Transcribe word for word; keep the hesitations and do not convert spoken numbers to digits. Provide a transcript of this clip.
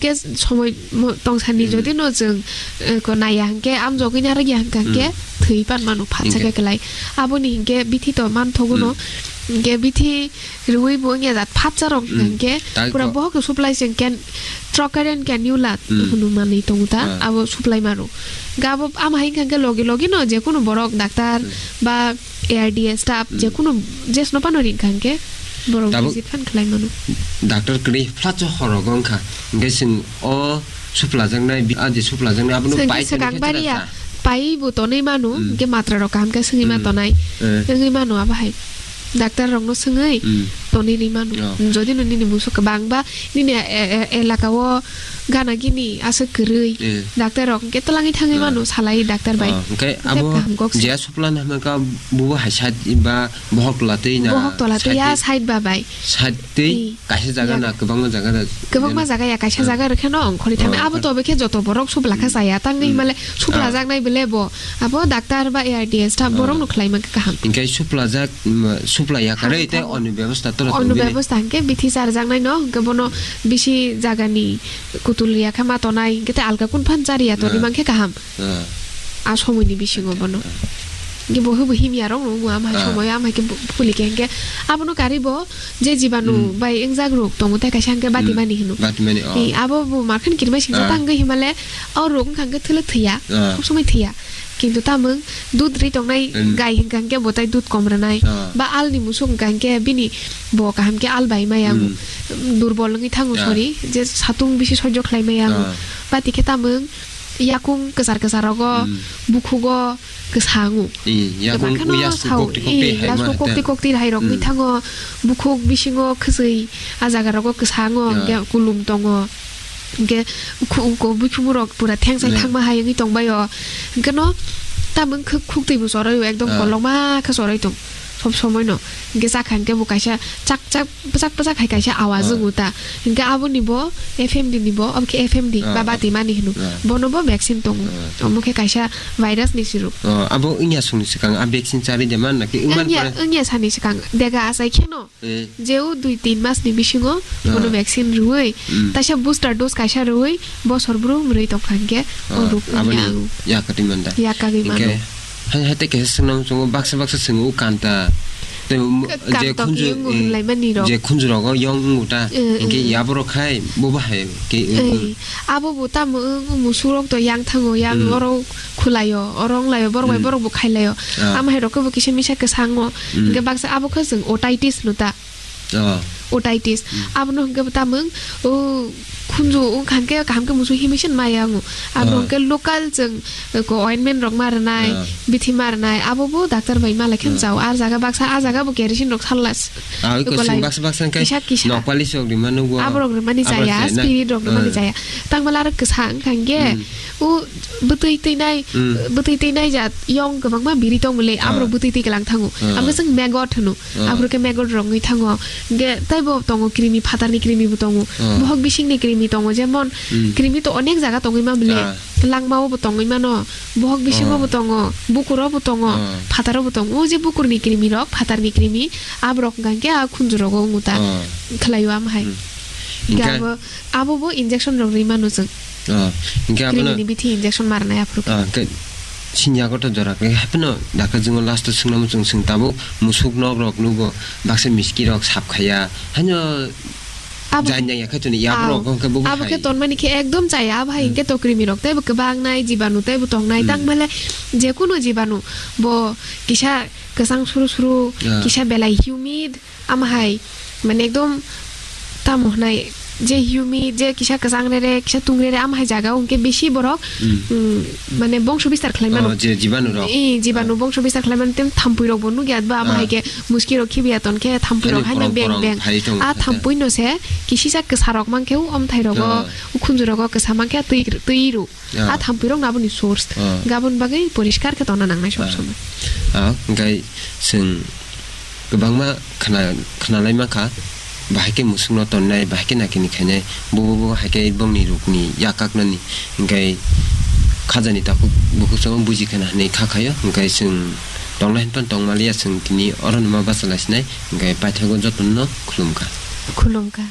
Ke somoi mo-, tong sani Hmm. jodi no chwng, eh, ko naiya hwnkhe, amjogwi narwkya hwnkha hwnkhe Hmm. thwi pan mano, phatsa Hwnkhe. khe kwlai. Aboni hwnkhe bithi to manthogo no. Hmm. Hwnkhe bithi rwui bo wngya jat phatsa rok Hmm. hwnkhe Tak pura ko- bohok supply se hwnkhe trocaire and cannula Hmm. hwnwi manwi tongo ta, Ah. abo supply maro. Hwnkhe abo ama hai hwnkha hwnkhe logi logi no jekunu borok doctor Hmm. ba A R D A staff Hmm. jekunu jesno phano ring kha hwnkhe borok Tabuk visit phan khlai mano. Doctor kwrwi phatsa horogo wngkha. Hwnkhe chwng o suplajaknai, bi-, a je suplajaknai, abono Swngkhe pai swkang thani bari ya, khe pai bo tonwi mano, Hmm. hwnkhe matra rok kaham khe swngwi ma Hmm. tonai. Eh. Wngwi mano abo hai. Doctor rokno swngwi Hmm. tonwi rwi mano. Oh. Jodi no nini musuk kwbang ba nini e-, e-, elaka o gana gini aswk kwrwi, Eh. doctor rok hwnkhe twlangwi thangwi Eh. mano, salai doctor bai. Oh, hwnkhe Hwnkhe abo kaham kok se. je suplana hwnka bubo hai side ba bohok tola twi na Bohok tola twi ya side twi? Side ba bai. Side twi? Ih. Kaisa jaga Yak. Na kwbangma jaga da? Kwbangma jaga ya, kaisa Ah. jaga rwkhe no ongkhorwi thangwi. Ah, Abo ah. To bekhe joto borok suplakha Hmm. chaya. Tangwi Hmm. himale Ah. suplajaknai bele bo. Abo doctor ba A R D S ta Ah. borok no khlai mankha kaham. Hingke suplajak, mm, suplai yakarwi Kaham, tei kaham. Oni bebostha toro Oni tongwini. Bebostha hingke bithi charjaknai no, hingke bono bisi jagani kutul yakha ma tonai, hingke tei alka kun phan chari ya toni Ah. Mankhe kaham. Ah. A somoini bisingo Ah, bono. Ah. Hingke bo hwbo himya rok no, ama hai Ah. Somoyo ama hai khe bu-, puli khe hingke abono kari bo, je jibanu Hmm. bai wngjak rok tongo, tei kaisa hwnkhe Hmm. batimani hino. Batimani, oh. Ee, abo bo markhan kirima singsa Ah. Tangwi himale, o rok wngkha hwnkhe thwlwk thwiya, Ah. Sob somoi thwiya. Kintu tamung dud ri tongnai Hmm. gai hwnkha hwnkhe bo tai dud kom rwnai. Ah. Ba alni musuk hwnkha hwnkhe bini bo kaham khe al bai maya wngo. Hmm. Durbol wngwi thango, Ah. Sorry, je satung bisi sojjo khlai maya wngo. Ah. Bati khe tamung yakung kwchar kwchar rogo, Hmm. Bukhugo, kwsa wngo. Ee, yakung Kwbangkhano uyas sao, kokti kokti ee, hai yasuk ma kokti hata. Kokti hai rok wngwi Hmm. Thango, bukhuk bisingo khwswi, a jaga rogo kwsa wngo, Ya. Hwnkhe kulum tongo. Hwnkhe khu-, ko buikhumu rok pura thengsai Ya. Thangma hai wngwi tongbaio. Hwnkhe no tamung khuk, khuk twi bo chorwi o, ekdom Ah. Kolokma khe chorwi tong, sob somoi no. Hwnkhe chakha hwnkhe bo kaisa chak chak bwchak bwchak hai kaisa awaz Ah. Wngo ta. Hingke aboni bo F M D ni bo, omo khe F M D Ah, ba ah. Bati mani hino. Ah. Bono bo vaccine tongo. Ah. Omo khe kaisa virus ni siruk. Oh, abo wngya songni swkang a vaccine charwi de man naki wngman Wngya, pore? Wngya sani swkang dega achai kheno. Eh. Jeu dui tin mas ni bisingo Ah. Bono vaccine rwui, Mm. Taisa booster dose kaisa rwui, bosor brum rwi tongkha hingke, Ah, o ruk aboni wngya ang. Yakatwi manda. Yakagwi mano. Hingke Hai, hai, tei kaisa swngna muchungo baksa, baksa swngwi o kanta. Tei mo-, Ka-, je kanta khunju, kiyungo eh, hinlaimani rok. Je khunju rogo yong wngo ta, Eh, hingke eh. Yaborok hai, bo bahai khe, eh, Ei, abo bo tamo wng, wng musurok to yang thango, yang Hmm. Oro khulaio, oro wnglaio, borok bai Hmm. Borok bo khailaio. Ah. Ama hai rok khe bo kisa misa kwsango. Hmm. Hingke baksa abo khe chwng otitis no ta. Oh. Otitis. Hmm. Abono hwnkhe bo tamung, o khunju wngkha hwnkhe kaham khe musu himwi se maya wngo. Abono Ah. Hwnkhe local chwng, eh, ko ointment rok ma rwnai, Ah. Bithi ma rwnai, abo bo doctor bai ma lai khe Ah. Mchao. Ar jaga baksa, a jaga bo kerosene rok sal las-, Ah, oi ko ko sing lai. Baksa baksa hwnkhe kisa kisa. Nokpali sok rima nugo. Aborok rwmani Aborok chaya, chaya na? Spirit rok rwmani Ah. Chaya. Tangmala aro kwsa wngkha hwnkhe, Hmm. O bwtwi twi nai, Hmm. Bwtwi twi nai jat yong kwbangma biri tongmole, Ah. Aborok bwtwi twi kwlang thango. Ah. Abo chwng maggot hwno. Ah. Aphuru khe maggot rok wngwi thango. Hingke teibo tongo krimi, phatarni krimi bo tongo. Ah. Bohok bisingni krimi tongo, jemon Hmm. Krimi to onek jaga tongwi ma bole. Ah. Langmao bo tongwi mano, bohok bisingo Ah. Bo tongo, bukuro bo tongo, Ah. Phataro bo tongo. O je bukurni krimi rok, phatarni krimi, aborok hwnkha hwnkhe a khunju rogo wngo ta. Ah. Khwlaio ama hai. Hmm. Hingke Hingke abo, abo bo injection rok rwi mano chwng. Ah, hingke abono Krimini bithi injection marnai aphuru khe. Ah, hingke sini yago to jora khe hapheno dakha jwngo last o swngna muchung swng tabuk musuk nok rok nugo baksa miski rok sap khaya. Haino Abo jai nang ya khe tuni yago rok hingke bo abo khe hai. Tonmani khe ekdom chaya, abo hai Hmm. Hingke to krimi rok teibo kwbang nai, jibanu teibo tong nai, Hmm. Tang male jekunu jibanu bo kisa kwchang suru suru, Ah. Kisa belai humid, Ama hai, mane ekdom tamo hwnai, je humid, je kisa kwchang rere, kisa tung rere, ama hai jaga o hwnkhe bisi borok, Hmm. Mm, mane bongso bistar khlai mano. Oh, je jibanu rok. Eh, jibanu Ah. Bongso bistar khlai mano, tem thampui rok bo nukya ba, ama Ah. Hai khe muski rok khibiya ton khe thampui rok Ani haino korong beng korong beng. Phai tongo Ah, khe. Thampui no se kisisa kwsa rok man khe o omthai rogo, Ah. O khunju rogo kwsa man khe twi, twi ru. Ah. A thampui rok no aboni source. Ah. Gabon bagwi poriskar khe tongna nangnai sob Ah. Somoi. Ah, hingkai chwng kwbangma khna-, khnalai mankha, bahai khe musukno tonnai, bahai khe nakini khainai, bo, bo, bo hai khe bongni rukni yakaknani, hingkai khajani takhuk bukhuk chwng buji khna hinwi kha khaio, hingkai chwng tongnai hinphano tongmaliya chwng tini oro numa bachalai sinai, hingkai paithago jotono khulumkha. Khulumkha.